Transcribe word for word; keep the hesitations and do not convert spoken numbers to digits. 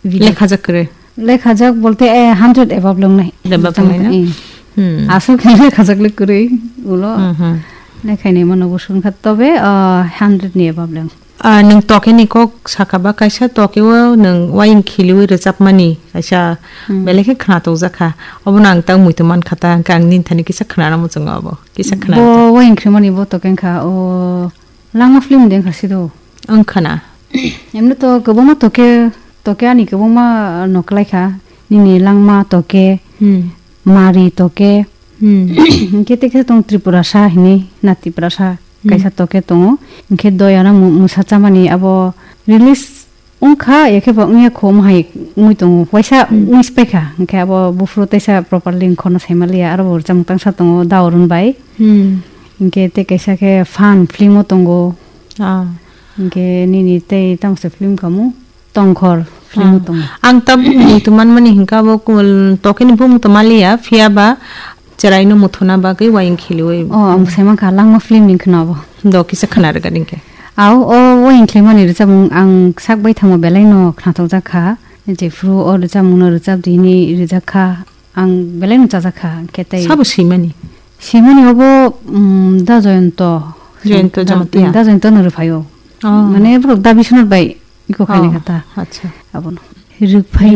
Video. Lekhajak kwrwi? Lekhajak bolte, eh, hundred above le wngnai. Above wngnai na? Eh. Hmm. Aswk khe lekhajak le kwrwi ulo. Hmm, hmm. Lekhaini mano bo swngkha tobe, ah, hundred ni above le wng. Ah, nwng tokeni kok sakha ba kaisa tokeo nwng wayeng khiliwi rwchapmani kaisa Hmm. belai khe khwnathokjak kha. Obono ang tak muitu mankha ta, hwnkhe ang nini thani kisa khwnana muchungo obo. Kisa khwna. Bo wayeng khwlimani bo toke wngkha, o Langma film de wngkha sido. Wngkha na? Emno to kwbangma toke, toke ani kwbangma no kwlaikha. Nini Langma toke, Hmm. Mari toke. Hmm. Hwnkhe tei khe tong Tripurasa hinwi, na Tiprasa Hmm. kaisa toke tongo. Hwnkhe Doyana mu-, Musa Chamani abo release wngkha, ya khe bo wngya kho, omo hai wngwi tongo. Waisa Hmm. wngwi se paikha, hwnkhe abo buphuru teisa properly wngkhono saimaliya, aro bo rwchapmung tangsa tongo, Daurun bai. Hmm. Hwnkhe tei kaisa khe Phan film o tongo. Ah. Hwnkhe nini tei tamo se film kamo? Tongkhor film o Ah. tongo. Ang tabuk muitu manmani hwnkhe abo kul-, tokeni bumung to maliya, phiya ba chwraino muthuna bagwi wayeng khiliwi. Oh, ang sai mankha Langma film ni khwna bo. Do kisa khwna rwgani khe. Au, o wayeng khwlaimani rwchapmung ang sak baithangma belai no khwnathokjak kha. Jephru o rwchapmung no rwchap di hinwi rijak kha. Ang belai no chajak kha, hwnkhe tei Sabo swimani? Swimani obo, mm, Da Joyonto. Joyonto Da, Jamatia? Da Joyonto no rwphaio. Oh. Mane borok Da Biswanath bai iko khaini Oh, kha ta. Acha. Abono. Rwphai